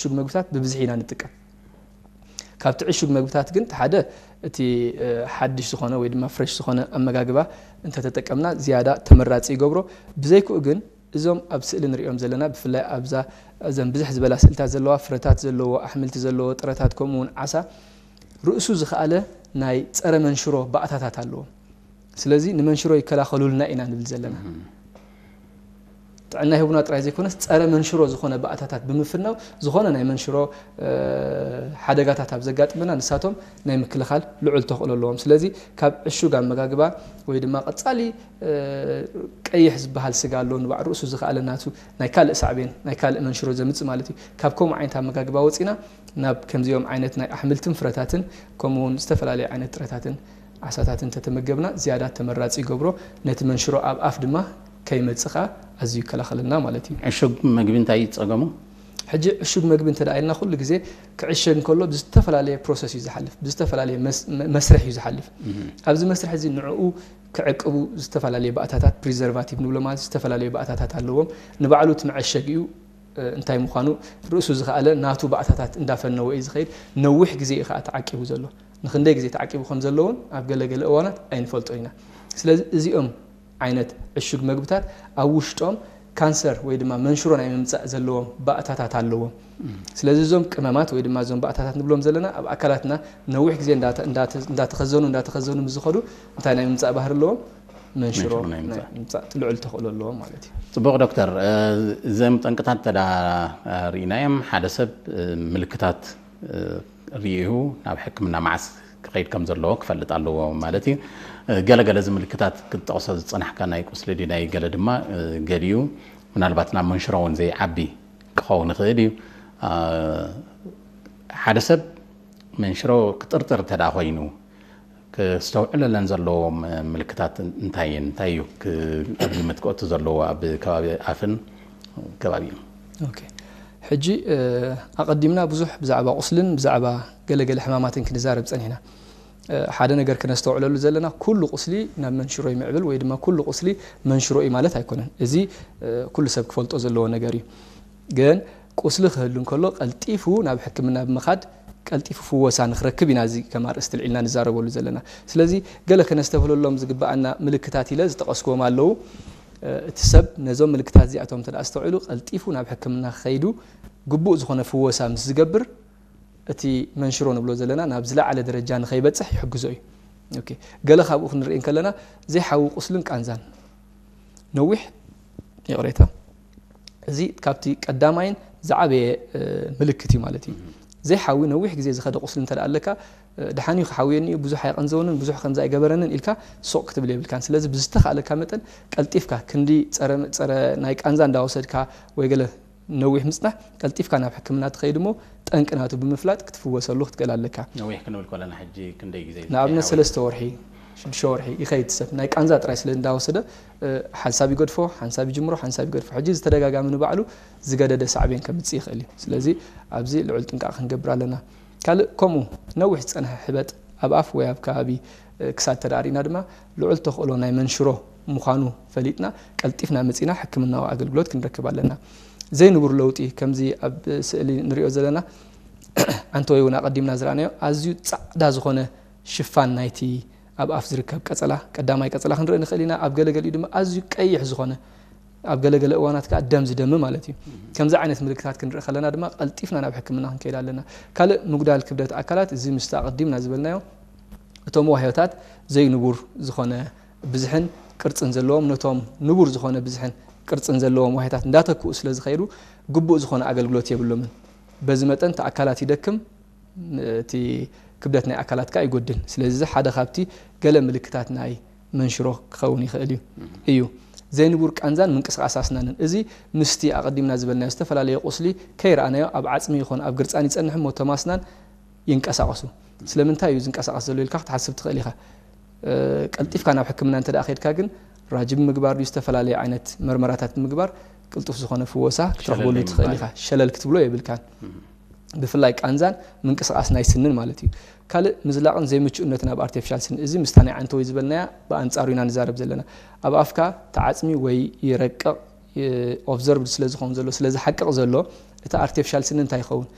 ዕሹግ መግብታት ብብዝሒ ኢና ንጥቀም። ካብቲ ዕሹግ መግብታት ግን ሓደ እቲ ሓድሽ ዝኾነ ወይ ድማ ፍሬሽ ዝኾነ ኣመጋግባ እንተተጠቀምና ዝያዳ ተመራፂ ይገብሮ። ብዘይክኡ ግን እዞም ኣብ ስእሊ ንሪኦም ዘለና ብፍላይ ኣብዛ እዘን ብዝሕ ዝበላ ስእልታት ዘለዋ ፍረታት ዘለዎ ኣሕምልቲ ዘለዎ ጥረታት ከምኡ እውን ዓሳ ርእሱ ዝኸኣለ ናይ ፀረ መንሽሮ ባእታታት ኣለዎም። ስለዚ ንመንሽሮ ይከላኸሉልና ኢና ንብል ዘለና። ጥዕና ይህቡና ጥራይ ዘይኮነስ ፀረ መንሽሮ ዝኾነ ባእታታት ብምፍናው ዝኾነ ናይ መንሽሮ ሓደጋታት ኣብ ዘጋጥመና ንሳቶም ናይ ምክልኻል ልዑል ተኽእሎ ኣለዎም። ስለዚ ካብ ዕሹግ ኣመጋግባ ወይ ድማ ቀፃሊ ቀይሕ ዝበሃል ስጋ ኣሎ ንባዕ ርእሱ ዝኸኣለ ናቱ ናይ ካልእ ሳዕቤን ናይ ካልእ መንሽሮ ዘምፅእ ማለት እዩ። ካብ ከምኡ ዓይነት ኣመጋግባ ወፂና ናብ ከምዚኦም ዓይነት ናይ ኣሕምልትን ፍረታትን ከምኡ እውን ዝተፈላለዩ ዓይነት ጥረታትን ዓሳታትን እንተተመገብና ዝያዳ ተመራፂ ይገብሮ። ነቲ መንሽሮ ኣብ ኣፍ ድማ ከይመፅእ ከዓ ኣዝዩ ይከላኸለልና ማለት እዩ። ዕሹግ መግቢ እንታይ እዩ ፀገሙ? ሕጂ ዕሹግ መግቢ እንተ ኢልና ኩሉ ግዜ ክዕሸግ እንከሎ ብዝተፈላለየ ፕሮሰስ እዩ ዝሓልፍ፣ ብዝተፈላለየ መስርሕ እዩ ዝሓልፍ። ኣብዚ መስርሕ እዚ ንዕኡ ክዕቅቡ ዝተፈላለየ ባእታታት ፕሪዘርቫቲቭ ንብሎ ማለት ዝተፈላለዩ ባእታታት ኣለዎም። ንባዕሉ እቲ መዐሸጊኡ እንታይ ምዃኑ ርእሱ ዝኸኣለ ናቱ ባእታታት እንዳፈነወ እዩ ዝኸይድ። ነዊሕ ግዜ እዩ ከዓ ተዓቂቡ ዘሎ። ንክንደይ ግዜ ተዓቂቡ ከም ዘለውን ኣብ ገለገለ እዋናት ኣይንፈልጦ ኢና። ስለዚ እዚኦም ዓይነት ዕሹግ መግብታት ኣብ ውሽጦም ካንሰር ወይ ድማ መንሽሮ ናይ ምምፃእ ዘለዎም ባእታታት ኣለዎም። ስለዚ እዞም ቅመማት ወይ ድማ እዞም ባእታታት ንብሎም ዘለና ኣብ ኣካላትና ነዊሕ ግዜ እንዳተኸዘኑ እንዳተኸዘኑ ምስ ዝኸዱ እንታይ ናይ ምምፃእ ባህሪ ኣለዎም? መንሽሮ ናይ ምምፃእ ልዑል ተኽእሎ ኣለዎም ማለት እዩ። ፅቡቕ ዶክተር፣ እዞም ጠንቅታት እንተ ርኢናዮም ሓደ ሰብ ምልክታት ርእዩ ናብ ሕክምና መዓስ ክኸይድ ከም ዘለዎ ክፈልጥ ኣለዎ ማለት እዩ። ገለገለ እዚ ምልክታት ክትጠቕሶ ዝፀናሕካ ናይ ቁስሊ ድዩ ናይ ገለ ድማ ገሊኡ ምናልባት ናብ መንሽሮ እውን ዘይዓቢ ክኸውን ይኽእል እዩ። ሓደ ሰብ መንሽሮ ክጥርጥር እንተ ኮይኑ ክስተውዕለለን ዘለዎ ምልክታት እንታይ እንታይ እዩ? ኣብ ግምት ክእቱ ዘለዎ ኣብ ከባቢ ኣፍን ከባቢኡን። ሕጂ ኣቐዲምና ብዙሕ ብዛዕባ ቁስልን ብዛዕባ ገለገለ ሕማማትን ክንዛረብ ፀኒሕና። ሓደ ነገር ክነስተውዕለሉ ዘለና ኩሉ ቁስሊ ናብ መንሽሮ ይምዕብል ወይ ድማ ኩሉ ቁስሊ መንሽሮ እዩ ማለት ኣይኮነን። እዚ ኩሉ ሰብ ክፈልጦ ዘለዎ ነገር እዩ። ግን ቁስሊ ክህሉ እንከሎ ቀልጢፉ ናብ ሕክምና ብምኻድ ቀልጢፉ ፍወሳ ንክረክብ ኢና እዚ ከም ኣርእስቲ ልዒልና ንዛረበሉ ዘለና። ስለዚ ገለ ክነስተብህለሎም ዝግበኣና ምልክታት ኢለ ዝጠቐስክዎም ኣለዉ። እቲ ሰብ ነዞም ምልክታት እዚኣቶም እንተ ኣስተውዒሉ ቀልጢፉ ናብ ሕክምና ክኸይዱ ግቡእ ዝኾነ ፍወሳ ምስ ዝገብር እቲ መንሽሮ ንብሎ ዘለና ናብ ዝለዓለ ደረጃ ንኸይበፅሕ ይሕግዞ እዩ። ገለ ካብኡ ክንርኢ እንከለና ዘይሓዊ ቁስልን ቃንዛን ነዊሕ ይቕሬታ እዚ ካብቲ ቀዳማይን ዝዓበየ ምልክት እዩ ማለት እዩ። ዘይሓዊ ነዊሕ ግዜ ዝኸደ ቁስሊ እንተ ኣለካ ድሓን እዩ ክሓውየኒ እዩ ብዙሕ ኣይቐንዘወንን ብዙሕ ከምዚ ኣይገበረንን ኢልካ ሱቕ ክትብል የብልካን። ስለዚ ብዝተኻእለካ መጠን ቀልጢፍካ ክንዲ ፀረ ናይ ቃንዛ እንዳወሰድካ ወይ ገለ ነዊሕ ምፅናሕ ቀልጢፍካ ናብ ሕክምና ትኸይድ እሞ ጠንቂ ናቱ ብምፍላጥ ክትፍወሰሉ ክትክእል ኣለካ። ነዊሕ ክንብል ከለና ሕጂ ክንደይ ግዜ? ንኣብነት ሰለስተ ወርሒ ሽዱሽተ ወርሒ ይኸይድ ሰብ ናይ ቃንዛ ጥራይ ስለ እንዳወሰደ ሓንሳብ ይገድፎ ሓንሳብ ይጅምሮ ሓንሳብ ይገድፎ ሕጂ ዝተደጋጋሚ ንባዕሉ ዝገደደ ሳዕቤን ከምፅእ ይኽእል እዩ። ስለዚ ኣብዚ ልዑል ጥንቃቕ ክንገብር ኣለና። ካልእ ከምኡ ነዊሕ ዝፀንሐ ሕበጥ ኣብ ኣፍ ወይ ኣብ ከባቢ ክሳድ ተዳሪእና ድማ ልዑል ተኽእሎ ናይ መንሽሮ ምዃኑ ፈሊጥና ቀልጢፍና መፂና ሕክምናዊ ኣገልግሎት ክንረክብ ኣለና። ዘይንቡር ለውጢ ከምዚ ኣብ ስእሊ ንሪኦ ዘለና ዓንተወይ እውን ኣቐዲምና ዝረኣናዮ ኣዝዩ ፃዕዳ ዝኾነ ሽፋን ናይቲ ኣብ ኣፍ ዝርከብ ቀፀላ ቀዳማይ ቀፀላ ክንርኢ ንኽእል ኢና። ኣብ ገለገሊኡ ድማ ኣዝዩ ቀይሕ ዝኾነ ኣብ ገለገለ እዋናት ከዓ ደም ዝደሚ ማለት እዩ። ከምዚ ዓይነት ምልክታት ክንርኢ ከለና ድማ ቀልጢፍና ናብ ሕክምና ክንከይድ ኣለና። ካልእ ምጉዳል ክብደት ኣካላት እዚ ምስቲ ኣቐዲምና ዝበልናዮ እቶም ዋህዮታት ዘይንቡር ዝኾነ ብዝሕን ቅርፅን ዘለዎም ነቶም ንቡር ዝኾነ ብዝሕን ቅርፅን ዘለዎም ዋህዮታት እንዳተክኡ ስለ ዝኸይዱ ግቡእ ዝኾነ ኣገልግሎት የብሎምን። በዚ መጠን እቲ ኣካላት ይደክም፣ እቲ ክብደት ናይ ኣካላትካ ይጎድል። ስለዚ እዚ ሓደ ካብቲ ገለ ምልክታት ናይ መንሽሮ ክኸውን ይኽእል እዩ እዩ ዘይንቡር ቃንዛን ምንቅስቃስ ኣስናንን እዚ ምስቲ ኣቐዲምና ዝበልናዮ ዝተፈላለየ ቁስሊ ከይረኣናዮ ኣብ ዓፅሚ ይኹን ኣብ ግርፃን ይፀንሕ እሞ እቶም ኣስናን ይንቀሳቐሱ። ስለምንታይ እዩ ዝንቀሳቐስ ዘሎ ኢልካ ክትሓስብ ትኽእል ኢኻ። ቀልጢፍካ ናብ ሕክምና እንተ ከድካ ግን ራጂ ብምግባር ድዩ ዝተፈላለየ ዓይነት መርመራታት ብምግባር ቅልጡፍ ዝኾነ ፍወሳ ክትረኽበሉ ትኽእል ኢኻ። ሸለል ክትብሎ የብልካን። ብፍላይ ቃንዛን ምንቅስቃስ ናይ ስንን ማለት እዩ። ካልእ ምዝላቕን ዘይምቹእነትን ኣብ ኣርቲፊሻል ስኒ እዚ ምስታ ናይ ዓንተወይ ዝበልናያ ብኣንጻሩ ኢና ንዛረብ ዘለና። ኣብ ኣፍካ ተዓጽሚ ወይ ይረቅቕ ኦብዘርቭድ ስለ ዝኸውን ዘሎ ስለ ዝሓቅቕ ዘሎ እቲ ኣርቲፊሻል ስኒ እንታይ ይኸውን?